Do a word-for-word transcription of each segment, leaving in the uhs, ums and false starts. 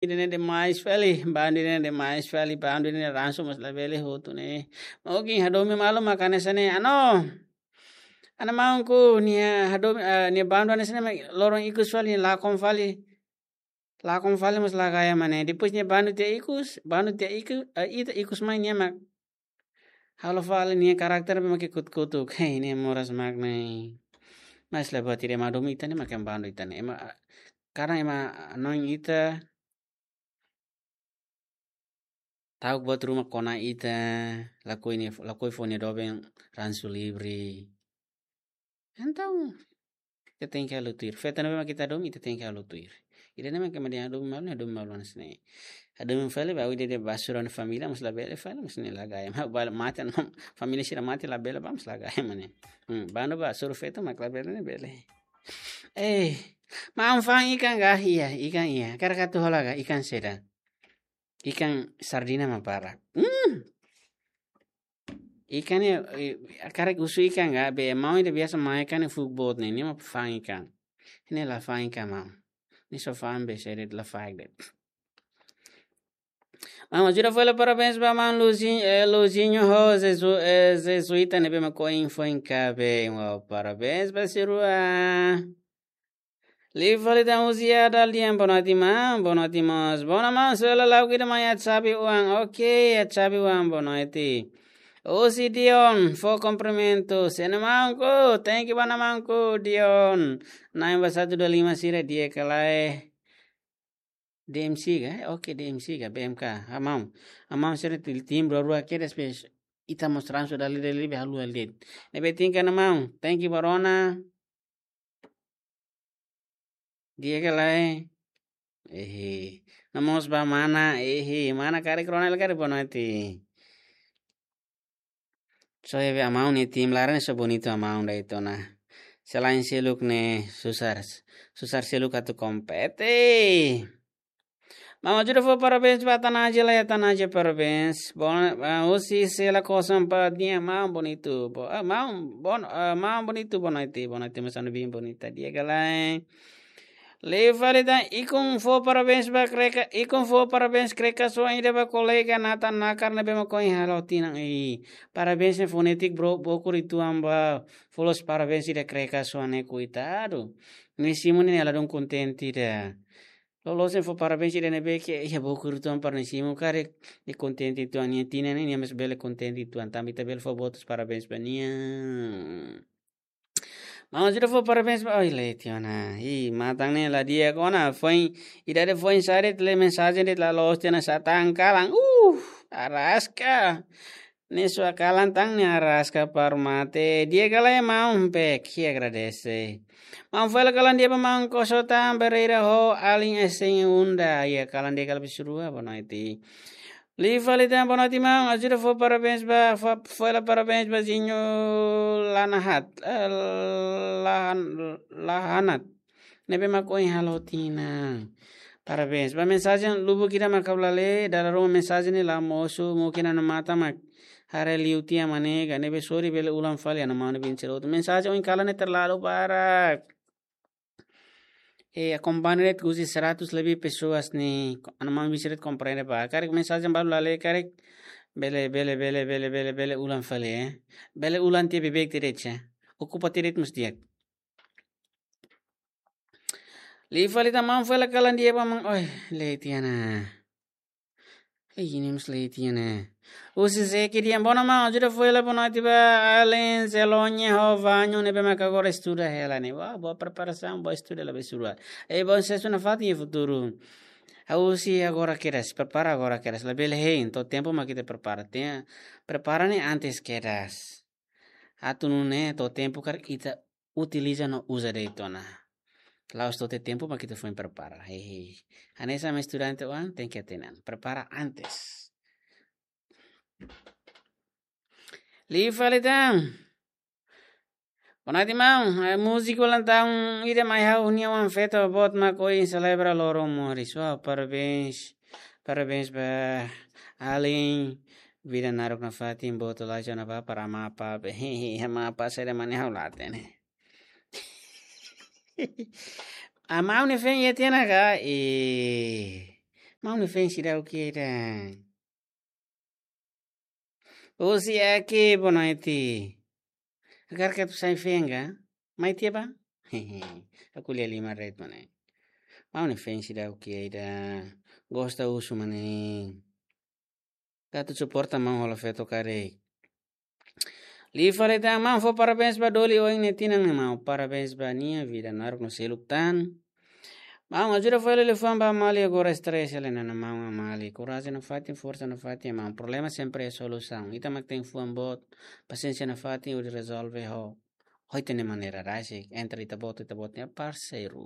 ida-ne'e demais fali, bandu ida-ne'e demais fali, bandu ida-ne'e ransu mós labele hotu ne'e. Mungkin hadomi malu maka hanesan ne'e, ano. Ana maunku nia hadomi, eh, nia bandu hanesan ne'e mak loron ikus fali, lakon fali. Lakon fali mós la gaya mak ne'e. Depois nia bandu tiha ikus, bandu tiha iku, eh, ita ikus mai nia mak halo fali nia karakter be mak kutuk-kutuk. Hei, nia moras mak ne'e. Mas la buat ida ema hadomi ita ne'e mak ema bandu ita ne'e. Ema, karena ema hanoin ita, ta'uk buat ruma kona ita, lakohi nia, lakohi fó nia doben ransu livre. Entaun, ita tenke halo tuir. Feto ne'ebé mak ita hadomi, ita tenke halo tuir. Ida-ne'e mak ema dehan hadomi malu, hadomi malu hanesan ne'e. Hadomi fali ba, ida-idak ba sura família, mas labele fali, mas ne'e la gaya. Ma-, ba-, mate, família sira mate labele ba, mas la gaya mak ne'e. Hmm, bandu ba sura feto mak labele ne'e bele. Eh, maun fa'an ikan ga? Iha, ikan iha. Karik atu hola ga? Ikan saida? Ikan sardina mak barak. Hmm. Ikan ne'e, eh, karik husu ikan ga, be maun ida biasa mai ikan ne'e fuuk boot ne'e, nia mak fa'an ikan. Ne'e la fa'an ikan maun. Nia só fa'an be seret la faek de'it. Maun, ajuda fó hela parabéns ba maun Luzi-, eh, Luzinho ho Jesu-, eh, Jesuita ne'ebé mak ohin foin kaben. Wow, parabéns ba sira rua. Liu fali tan husi Adal dehan boa noite maun, boa noite mós. Boa noite maun, só hela la'o ida mai atu xave oan. Ok, atu xave oan, boa noite. Husi Dion, fó kumprimentu. Sene maunku, thank you ba maunku, Dion. Na'in ba satu dua lima sira di'ak ka lae. D M C ka? Ok, D M C ka, B M K. Amaun. Amaun sira ti-, tim rua-rua kedas pes. Ita mós ransu dala ida liu be halo hela de'it. Ne'ebé tin ka na maun. Thank you ba rona. Di'ak ka lae. Ehe. No mós ba mana, ehe, mana karik rona hela karik boa noite. Só iha be amaun nia tim laran só bonitu amaun de'it ona. Selain seluk ne'e susar, susar seluk atu kompete. Maun ajuda fó parabéns ba Tanaja la ya Tanaja parabéns. Bon, ah, husi Sela kosong empat nia maun bonitu. Bo-, ah, maun bon-, ah, maun bonitu boa noite. Boa noite mós anu bin bonita di'ak ka lae. Liu fali tan ikun fó parabéns ba kreka, ikun fó parabéns kreka soan ida ba kolega Nathan Nakar ne'ebé mak ohin halo tinan. Ih, parabéns ne'e fonétika bro, bokur uitoan ba. Fó loos parabéns ida kreka soan ne'e koitadu. Nia simu ne'e nia ladún kontente ida. Loloos ne'e fó parabéns ida ne'ebé ke, iha bokur uitoan para nia simu karik, nia kontente uitoan nia tinan ne'e, nia mós bele kontente uitoan tanba ita bele fó boot parabéns ba nia. Maun ajuda fó parabéns ba, oi, leti ona. Ih, matan ne'e la di'ak ona, foin, ida de foin sare tele mensajen de'it la loos tiha ona sá tan kalan. Uh, araska. Ne'e sua kalan tan ne'e araska para mate. Di'ak ka lae maun pek, i agradese. Maun fó hela kalan di'ak ba maun Koso tan Pereira ho alin esen unda. Iha kalan di'ak ka lae ba sira rua, boa noite. Liu fali tan boa noite maun, ajuda fó parabéns ba, fó, fó hela parabéns ba Zinho Lanahat, eh, Lahan-, Lahanat. Ne'ebé mak ohin halo tinan. Parabéns. Ba mensajen lubuk ida mak ha'u la lee, dala ruma mensajen ne'e la mosu, mungkin anu matan mak haree liu tiha mak ne'e, ka ne'ebé sorry bele ulang fali anu maun bin sira hotu. Mensajen ohin kalan ne'e terlalu barak. Eh, akompaña de'it husi seratus lebih pessoas ne'e, anu maun bin sira komprende ba. Karik mensajen balu la lee, karik bele, bele, bele ulang fali, eh. Bele ulang tiha beibeik de'it, ya. Okupa de'it mós di'ak. Liu fali tan maun fó hela kalan di'ak ba maun, oi, leti ona. Ei, nia mós leti ona. Husi Zeki dehan boa noite maun, ajuda fó hela boa noite ba alin Zelonia ho Vanho ne'ebé mak agora estuda hela ne'e. Wah, boa preparasaun, boa estuda la be sira rua. Ei, bom susesu nafatin iha futuru. Ha'u husi agora kedas, prepara agora kedas. Labele hein, to'o tempu mak ita prepara. Tenke prepara ne'e antes kedas. Atu nune'e to'o tempu karik ita utiliza no uza de'it ona. La'ós to'o tempu mak ita foin prepara. Hehe. Hanesan ema estudante oan tenke hatene an. Prepara antes. Liu fali tan. Boa noite maun. Eh, múziku ulang tahun ida mai ha'u-nia oan feto boot mak ohin selebra loron moris. Wah, parabéns. Parabéns ba alin. Vida naruk nafatin boot laju ona ba para Amapa. Hehe, Amapa saida mak ne'e ha'u la hatene. Amaun nia feen iha tiha ona ka? Eh. Maun nia feen seidauk ida. Husi Eki, boa noite. Hakarak atu sai feen ka? Mai tiha ba? Hehe. Ha'u ko'alia liman de'it mak ne'e. Maun nia feen seidauk ida. Gosta husu mak ne'e. Atu suporta maun hola feto karik. Liu fali tan, maun fó parabéns ba Doli oin nia tinan ne'e maun. Parabéns ba nia, vida naruk no seluk tan. Maun ajuda fó hela liafuan ba Amali agora stress hela ona maun. Amali, korajen nafatin, forsa nafatin maun. Problema sempre iha solusaun. Ita mak tenke fuan boot, pasiénsia nafatin hodi rezolve ho, ho ita-nia maneira rasik. Entre ita-boot, ita-boot nia parseiru.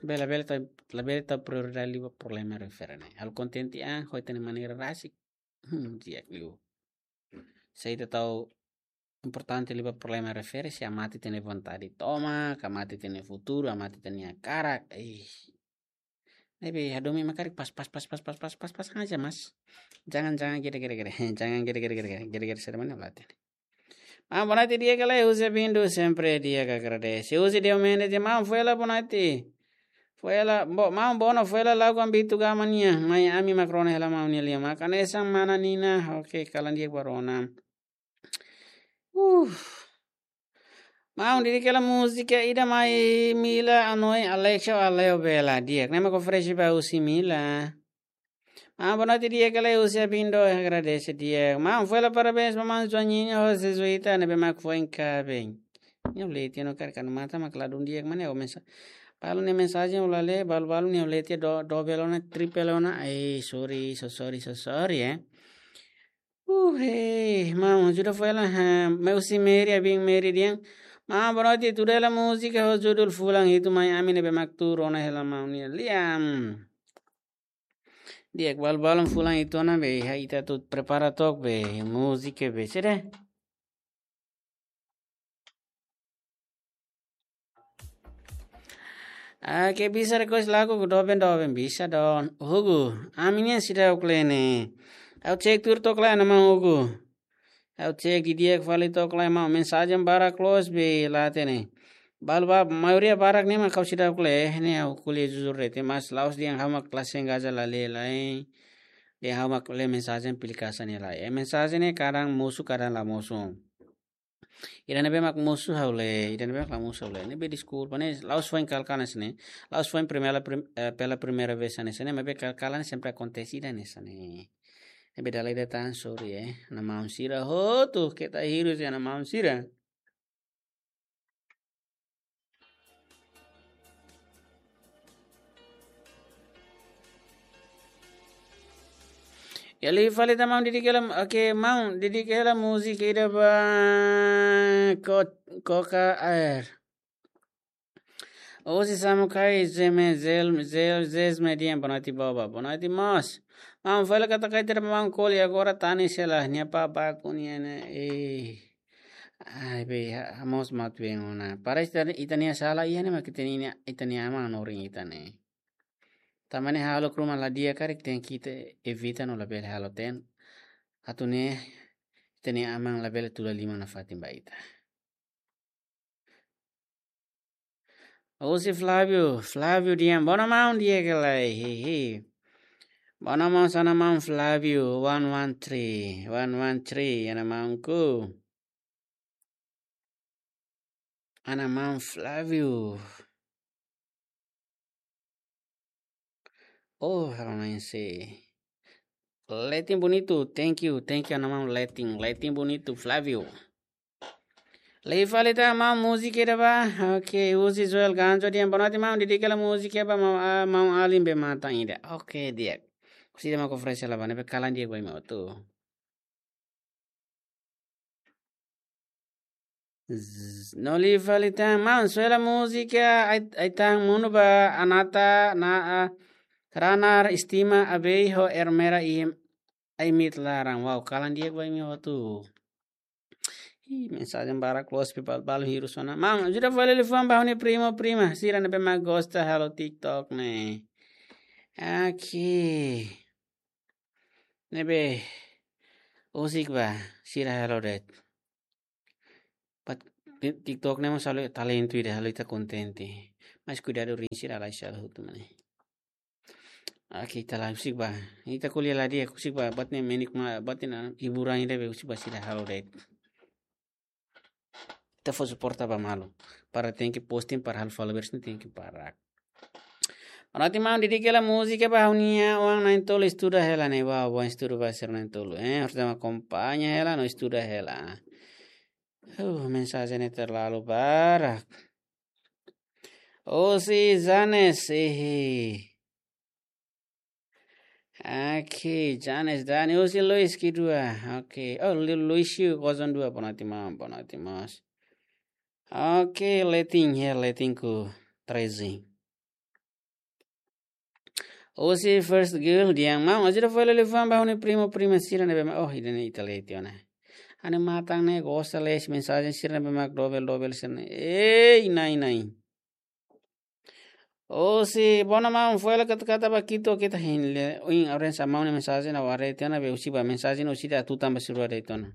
Bele, bele ta, labele tau prioridade liu ba problema refere ne'e. Halo kontente an ho ita-nia maneira rasik. Hmm, di'ak liu. Se ita tau importante liu ba problema refere, se amate ita-nia vontade tomak, amate ita-nia futuru, amate ita-nia hakarak. Ih. Ne'ebé hadomi mak karik pas, pas, pas saja, mas. Jangan, jangan gere, gere, gere. Jangan gere, gere, gere, gere. Gere, gere, saida mak ne'e la hatene. Maun, boa noite di'ak ka lae, husi Abindo, sempre di'ak, agradese. Husi Diomedes, maun, fó hela boa noite. Fó hela, bo-, maun, bono, fó hela lagu Ambito Gama nian. Mai ami mak rona hela maun nia lian. Mak hanesan mana Nina, oke, kalan di'ak ba rona. Uh. Maun, dedika hela múzika ida mai Mila, Anoi, Alexa, Aleo Bela. Di'ak, ne'e mak oferese ba husi Mila. Maun, boa noite di'ak ka lae, husi Abindo, agradese di'ak. Maun, fó hela parabéns ba maun Joaninha ho Jesuita ne'ebé mak foin kaben. Nia leti no kar kanu mata mak ladún di'ak mak ne'e o mensa-, balu nia mensajen ha'u la lee, balu-balu nia leti do, dobel ona, tripel ona. Ai, sorry, so sorry, so sorry, eh. Uh, hey, maun, ajuda fó hela, ha, mai husi Mary, abin Mary dehan. Maun, boa noite, tuda hela múzika ho judul Fulan Hitu mai ami ne'ebé mak tuur ona hela maun nia lian. Di'ak, balu-balun fulan hitu ona be, iha ita atu prepara took be, múzika be, sede. Ah, ke bisa request lagu ku doben doben bisa don. Hugo, ami-nian seidauk lee ne'e. Ha'u cek tuir took lai ona maun Hugo. Ha'u cek didi'ak fali took lai maun, mensajen barak loos be la hatene. Balu ba, maioria barak ne'e mak ha'u seidauk lee, ne'e ha'u ko'alia jujur de'it, mas la'ós dehan ha'u mak la sengaja la lee lai. Dehan ha'u mak lee mensajen aplikasaun ne'e lai. Eh, mensajen ne'e kadang mosu, kadang la mosu. Ida ne'ebé mak mosu ha'u lee, ida ne'ebé mak la mosu ha'u lee. Ne'ebé deskulpa, ne'e la'ós foin kala-kala hanesan ne'e. La'ós foin primera prim-, eh, pela primeira vez hanesan ne'e, maibé kala-kala ne'e sempre akontese ida hanesan ne'e. Ne'ebé dala ida tan, sorry, eh. Ana maun sira hotu, keta hirus iha ana maun sira. Ya, liu fali tan maun, dedika hela, oke, maun, dedika hela múzika ida ba ko-, Coca Air. Husi Samukai, Zeme, Zel, Zel, Zezme dehan, boa noite, boba. Boa noite, mós. Maun, fó hela katak ai tera maun ko'alia agora tanis hela, nia papa kunia ne'e, eh. Ai, be, ha, ha, mós mak atu been ona. Parese ita, ita-nia sala iha ne'e mak ita-nia, ita-nia aman hanorin ita ne'e. Tanba ne'e halo ruma la di'ak karik tenke ita evita no labele halo tan. Atu nune'e ita-nia aman labele tuda liman nafatin ba ita. Husi Flávio, Flávio dehan, bono maun di'ak ka lae, hehe. Bono maun, sana maun Flávio, one one three, one one three, ana maunku. Ana maun Flávio. Oh, halo nai se. Letin bonitu, thank you, thank you, ana maun Letin, Letin bonitu, Flávio. Liu fali tan maun, múzika ida ba. Oke, husi Joel Ganjo dehan, boa noite maun, dedika hela múzika ba maun, ah, maun alin be matan ida. Oke, di'ak. Husi ida mak oferese hela ba ne'e, be kalan di'ak ba imi hotu. Zzz, no liu fali tan, maun, soe hela múzika, ai, ai tan munu ba anata na, ah, ranar estima abei ho ermera i ai mit laran. Wow, kalan di'ak ba imi hotu. Ih, mensajen barak loos pe bal-, balu hirus ona. Maun, ajuda fali liafuan ba ha'u-nia primo, prima. Sira ne'ebé mak gosta halo TikTok ne'e. Oke. Ne'ebé husik ba, sira halo de'it. Pat ti-, TikTok ne'e mós halo talentu ida, halo ita kontente. Mas kuidadu rin sira la sala hotu mane. Oke, ita la husik ba. Ita ko'alia la di'ak, husik ba, buat ne'e menik ma, buat ne'e hiburan ida be husik ba sira halo de'it. Ita fó suporta ba malu. Para tenke posting, para halo followers ne'e tenke para. Bonoite maun, dedika hela múzika ba ha'u-nia oan na'in-tolu, estuda hela ne'e ba, oan estuda ba sira na'in-tolu. Eh, harus akompaña hela no estuda hela. Uh, mensajen ne'e terlalu barak. Osi Janes, eh. Oke, Janes Dani, osi Luis kedua. Oke, oh, Lu-, Luis Yu kosong dua, bonoite maun, bonoite mós. Oke, Letin, ya, Letin ku treze. Osi first girl, di'ak maun, ajuda fó liafuan ba ha'u-nia primo, prima sira ne'ebé mak, oh, ida-ne'e ita lee tiha ona. Ha'u-nia matan ne'e gosta lee mensajen sira ne'ebé mak dobel, dobel sira ne'e. Ei, nai, nai. Osi, bonoite maun, fó hela kata-kata ba Kito, kita hin le, ohin oren sa maun nia mensajen ha'u haree tiha ona be husik ba mensajen husik ida atu tanba sira de'it ona.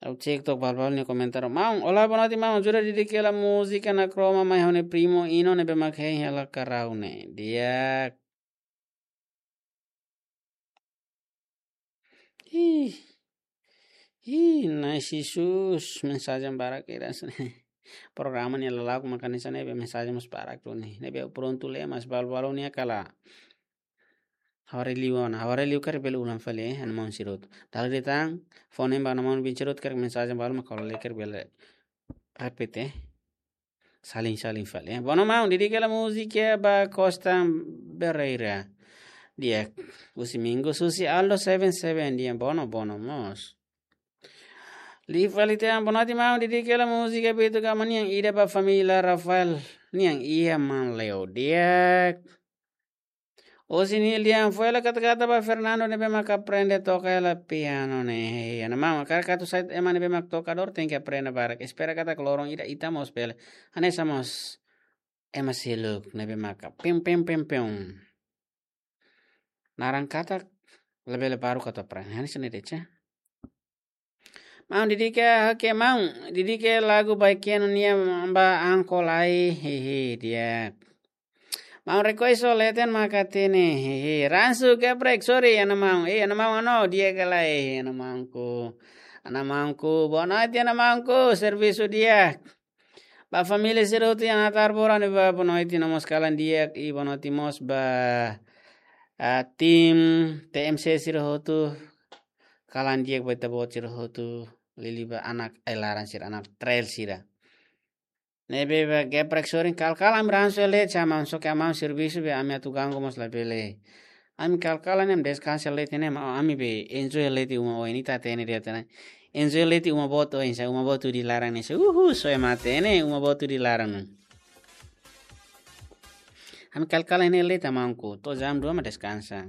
Ha'u cek to'ok balu-balu nia komentar. Maun, olá, bonoite maun, ajuda dedika hela múzika Nakroma mai ha'u-nia primo Ino ne'ebé mak hein hela karau ne'e. Di'ak. Ih. Ih, nai Jesus, mensajen barak keras. Programa ne'e lala'ok mak hanesan ne'e be mensajen mós barak duni. Ne'ebé prontu lee mas balu-balu nia kala. Ha'u haree liu ona, ha'u haree liu karik bele ulang fali, eh, ana maun sira hotu. Dala ida tan, fó ne'e ba ana maun bin sira hotu karik mensajen balu mak ha'u la lee karik bele repete, eh. Saling-saling fali, eh. Bonoite maun, dedika hela múzika ba Costa Pereira. Di'ak, osi Mingo, osi Aldo seven seven, di'ak, bonoite, bonoite mós. Liu fali tiha, bonoite maun, dedika hela múzika Beto Gama nian ida ba família Rafael nian iha Manleu. Di'ak. Osi Nil, di'ak, fó hela kata-kata ba Fernando ne'ebé mak aprende toka hela piano ne'e. Ana maun, karik atu sai ema ne'ebé mak tokadór tenke aprende barak. Espera katak loron ida ita mós bele hanesan mós ema seluk ne'ebé mak pim, pim, pim, pim. Naran katak labele baruk atu aprende. Hanesan ne'e de'it. Maun, dedika, oke, maun, dedika lagu Baikeno nian ba Angkol Ai, hehe, di'ak. Maun, request ho leten mak hatene, hehe. Ransu Geprek, sorry, ana maun, eh, ana maun, ano, di'ak ka lae, eh, ana maunku. Ana maunku, bonoite, ana maunku, servisu di'ak. Ba família sira hotu iha Natar Bora ne'e ba bonoite no mós kalan di'ak, i bonoite mós ba, ah, tim T M C sira hotu, kalan di'ak ba ita-boot sira hotu, liuliu ba anak ai-laran sira, anak trail sira. Ne'ebé ba Geprek, sorry, kal-kal ami ransu leten, sa maun, só ke maun servisu be ami atu ganggu mós labele. Ami kal-kal ne'e deskansa leten ne'e, maun, ami be enjoy leten uma oin, ita hatene de'it ona. Enjoy leten uma boot oin, sa uma boot hudi laran ne'e, sa, uhu, só ema hatene, uma boot hudi laran. Ami kal-kal ne'e leten maunku, to'o jam dua mak deskansa.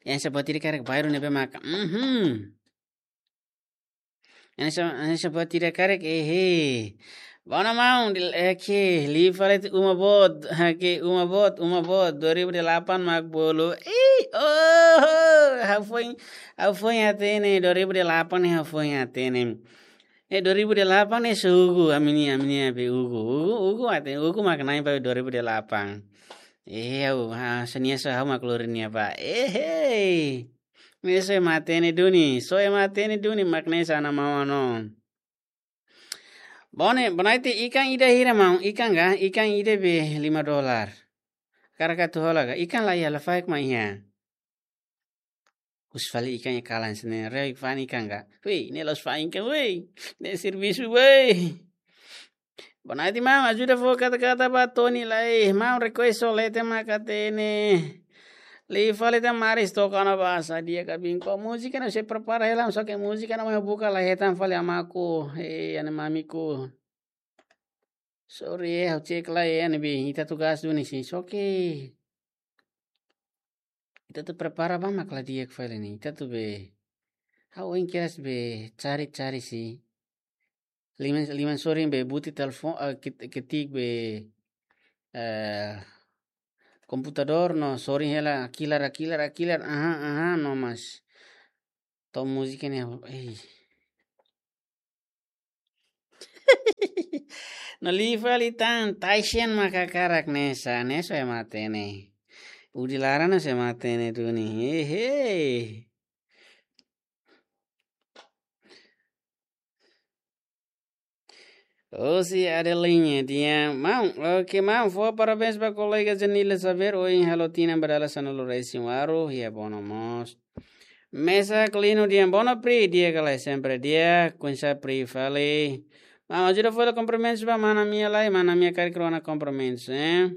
Yang seperti di karek baru ne'ebé maka, mhm. Yang se-, yang seperti di karek, eh, eh. Bonoite maun, di, eh, ke, liu fali tiha uma boot, ha, ke, uma boot, uma boot, dua ribu delapan mak bolu. Ih, oh, ha'u foin, ha'u foin hatene, dua ribu delapan ne'e ha'u foin hatene. Eh, dua ribu delapan ne'e só Ugu, ami-nia, ami-nia be Ugu. Ugu, Ugu hatene, Ugu mak na'in ba dua ribu delapan. Eh, ha'u, ha, só nia só ha'u mak lori nia ba. Eh, hei. Ne'e só ema hatene duni, só ema hatene duni mak ne'e sá, ana maun, ano. Bonoite, bonoite, ikan ida hira maun, ikan ka, ikan ida be lima dolar. Karik atu hola ka, ikan la iha, lafaek mak iha. Husu fali ikan iha kalan sira-ne'e, reo fa'an ikan ka. Wei, ne'e la'ós fa'an ikan, wei. Ne'e servisu, wei. Bonoite maun, ajuda fó kata-kata ba Tony lai. Maun, request ho leten mak hatene. Liu fali tiha Maris toka ona ba sá, di'ak ka bin ko. Múzika ne'e sei prepara hela, só ke múzika ne'e mai buka la hetan fali, amaku. Eh, ana mamiku. Sorry, eh, ha'u cek lai, eh, ne'ebé ita atu gas duni sin, só ke ita atu prepara ba mak la di'ak fali ne'e, ita atu be. Ha'u ohin kedas be cari-cari sin. Liman, liman sorin be buti telefon, eh, ket-, ketik be, eh, komputadór no sorin hela, hakilar, hakilar, hakilar, aha, aha, no mas. To'o múzika ne'e, eh. No liu fali tan, Taisen maka hakarak ne'e sá, ne'e só ema hatene. Udi laran só ema hatene duni. Hehe. Husi Adelinha, di'ak. Maun, oke, maun, fó parabéns ba kolega Janila Xavier, ohin halo tinan ba dala sanulu-resin-walu, iha Bono mós. Mesa Klino, di'ak, Bono Pri, di'ak ka lae, sempre di'ak, kuinsa Pri fali. Maun, ajuda fó komprimentus ba mana Mia lai, mana Mia karik rona komprimentus, eh?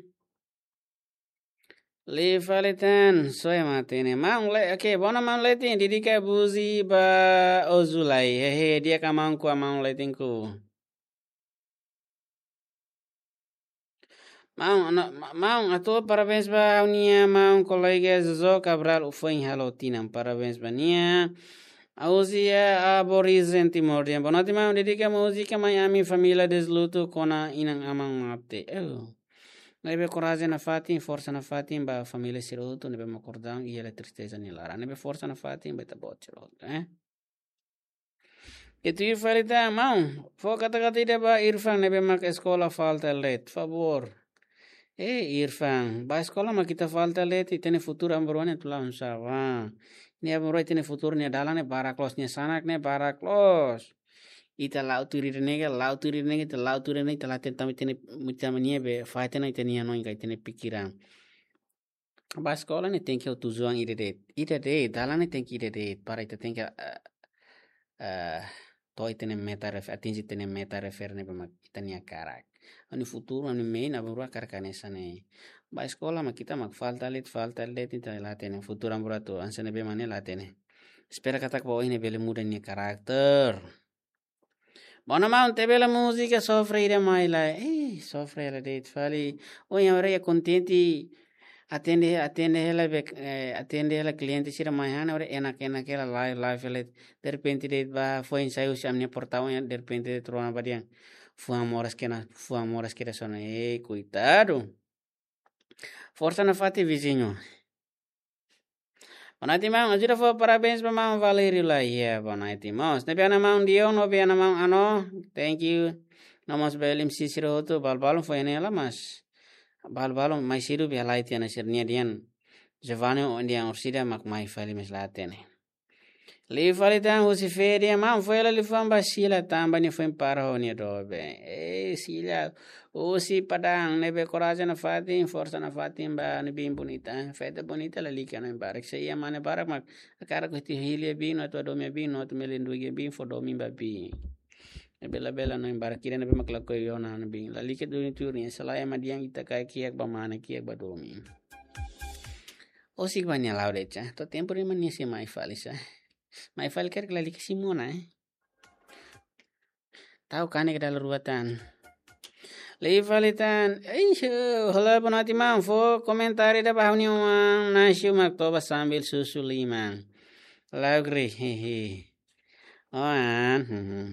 Liu fali tan, só ema hatene. Maun Le-, oke, Bono maun Letin, dedika múzika ba Ozulai. Hehe, di'ak ka maun ku, maun Letin ku. Maun, no, ma-, maun, hato'o parabéns ba ha'u-nia maun kolega Jojo Cabral, foin halo tinan, parabéns ba nia. Ausia Aborigin Timor, di'ak. Boa noite, maun, dedika múzika mai ami família Desluto kona inan-aman mate. Oh. Ne'ebé korajen nafatin, forsa nafatin ba família sira hotu ne'ebé mak akordaun iha tristeza nia laran. Ne'ebé forsa nafatin ba ita-boot sira hotu, eh? Ita fali tan, maun, fó kata-kata ida ba Irfan ne'ebé mak eskola falta de'it, favór. Eh, Irfan, ba eskola mak ita falta de'it, ita-nia futuru aban-bainrua ne'e atu la'o oinsá? Nia aban-bainrua ita-nia futuru, nia dalan ne'e barak loos, nia sanak ne'e barak loos. Ita la'o tuir ida-ne'e, la'o tuir ida-ne'e, ita la'o tuir ida-ne'e, ita la hatene tanba ita-nia, ita-nia be, fahe tiha ona ita-nia hanoin ka ita-nia pikiran. Ba eskola ne'e tenke ho tujuan ida de'it. Ida de'it, dalan ne'e tenke ida de'it. Para ita tenke, eh, eh, to'o ita-nia meta ref-, atinje ita-nia meta refere ne'ebé mak ita-nia hakarak. Ha'u-nia futuru, ha'u-nia mehi aban-bainrua hakarak hanesan ne'e. Ba eskola mak ita mak falta de'it, falta de'it, ita la hatene futuru aban-bainrua atu hanesan ne'ebé mak ne'e la hatene. Espera katak ba oin ne'e bele muda nia karakter. Bono maun, tebela múzika Sofre ida mai lai. Eh, Sofre hela de'it fali. Ohin ha'u haree kontente. Atende, atende hela be, eh, atende hela kliente sira mai han, ha'u haree enak-enak hela, live, live hela. Derrepente de'it ba, foin sai husi ami-nia portaun, derrepente de'it rona ba dehan. Fuan moras kedas, fuan moras kedas ona. Eh, koitadu. Forsa nafatin, viziñu. Boa noite, maun. Ajuda fó parabéns ba maun Valério lai. Ya, boa noite, maun. Ne'ebé ana maun Dio, no be ana maun Ano. Thank you. No mós ba M C sira hotu, balu-balu foin ne'e la mas. Balu-balu mai siru be lai tiha ona sira-nia dehan. Giovanni ho dehan orsida mak mai fali, mas la hatene. Liu fali tan husi Fede, maun, fó hela liafuan ba Sila tanba nia foin para ho nia doben. Eh, Sila, husi Padang, ne'ebé korajen nafatin, forsa nafatin ba nia biin bonita. Feto bonita lalika hanoin barak. Se iha mane barak mak hakarak atu hili biin, atu hadomi biin, atu melindungi biin, fó domin ba biin. Ne'ebé labele hanoin barak ida ne'ebé mak lakohi ona hanoin biin. Lalika duni tuir nia, selae ema dehan ita kaer kiak ba mane, kiak ba domin. Husik ba nia la'o de'it sá. To'o tempu ruma nia sei mai fali sá. Mai fali karik lalika simu ona, eh. Tau kanek dala rua tan. Liu fali tan. Eish, halo, boa noite, maun. Fó komentáriu ida ba ha'u-nia oan Nasio mak toba sambil susu liman. Laugri, hehe. Oan, hmm.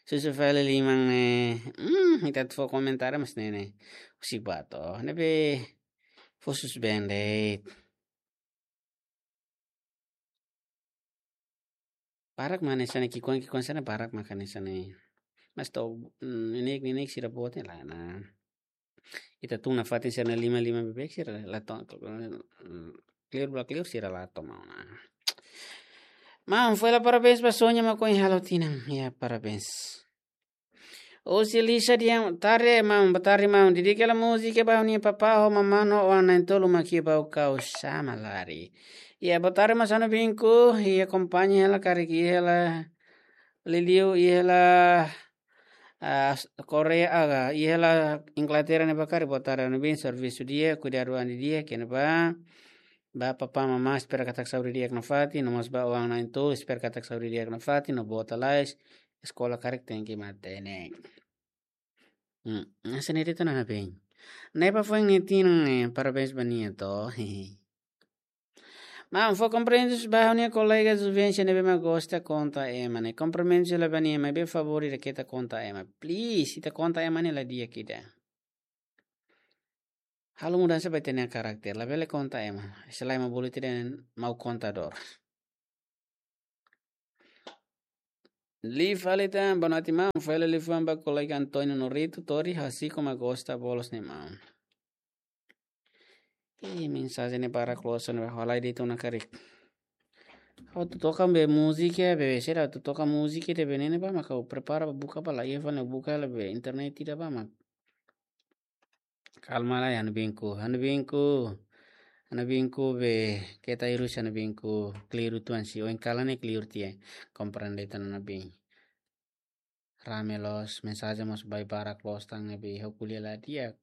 Susu fali liman ne'e. Hmm, ita atu fó komentáriu mas ne'e ne'e. Husik ba to'o. Ne'ebé fó susu been de'it. Barak mak hanesan ne'e, ki'ikoan, ki'ikoan sira barak mak hanesan ne'e. Mas to'o, mm, neineik, neineik sira boot ne'e la, nah. Ita tun nafatin sira-nia liman-liman beibeik sira la to'o, mm, kleur ba kleur sira la to'o maun, nah. Maun, fó hela parabéns ba Sonia mak ohin halo tinan. Ya, parabéns. Husi Lisa dehan, tarde, maun, boa tarde, maun. Dedika hela múzika ba ha'u-nia papá ho mamá no oan na'in-tolu mak iha Baucau, Samalari. Ya, boa tarde, maun, sá no binku, ya, akompaña hela karik iha hela, liuliu iha hela, ah, Korea, ah, iha hela Inglaterra ne'ebá karik, boa tarde, no bin, servisu di'ak, kuidadu an di'ak, iha ne'ebá. Ba papá mamá, espera katak saúde di'ak nafatin, no mós ba oan na'in-tolu, espera katak saúde di'ak nafatin, no boot lalais, eskola karik tenke matenek. Hmm, hanesan ne'e de'it ona, bem. Ne'ebá foin nia tinan, eh, parabéns ba nia to'o. Maun, fó komprimentus ba ha'u-nia kolega Juvencia ne'ebé mak gosta konta ema ne'e. Komprimentus hela ba nia, maibé favór ida keta konta ema. Please, ita konta ema ne'e la di'ak ida. Halo mudansa ba ita-nia karakter. Labele konta ema. Selae ema bolu ita dehan mau kontadór. Liu fali tan, boa noite maun. Fali liafuan ba kolega António Norito, Tori, Hasiko ma gosta bolos ne'e maun. Ih, mensajen ne'e barak loos ona, halai de'it ona karik. Ha'u atu toka be múzika, be sira atu toka múzika ida be ne'e ne'ebá mak ha'u prepara buka ba la, iha fali buka la be internet ida ba mak. Kalma lai, ha'u-nia biinku, ha'u-nia biinku. Ha'u-nia biinku be, keta hirus ha'u-nia biinku, kliru tuan si, oin kalan ne'e kliru tiha, komprende tan ha'u-nia biin. Rame loos, mensajen mós barak loos tan ne'ebé ha'u ko'alia la di'ak.